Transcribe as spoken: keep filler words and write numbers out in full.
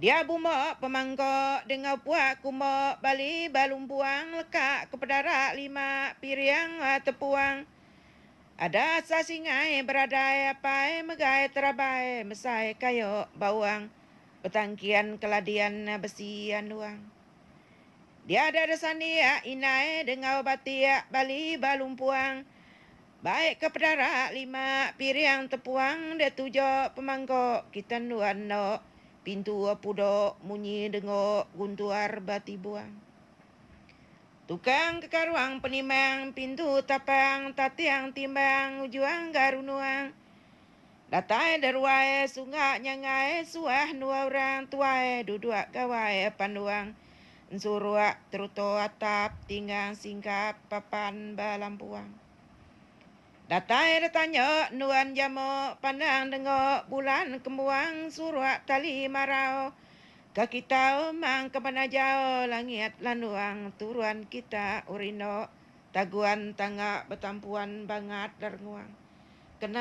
Dia bumok pemangkok dengau puak kumok bali balumpuang leka ke pedara lima piring tepuang. Ada sa singai beradai apai megai terabai mesai kayu bawang betangkian keladian besi anduang. Dia ada sandiak inai dengau batiak bali balumpuang. Baik ke pedara lima piring tepuang dia tujuk pemangkok kita nuan no. Pintu pudok munyi dengok guntuar bati buang. Tukang kekaruang penimang pintu tapang tatiang timbang ujuang garunuang. Datai deruai sunga nyangai suah dua orang tuai duduk gawai panduang. Ensuruak teruto atap tinggang singkap papan balampuang. Datai datanya nuan jamuk pandang dengok bulan kembuang suruak tali marau. Ke kita mang ke mana jauh langit landuang turuan kita urino taguan tangga betampuan bangat dernguang. Kena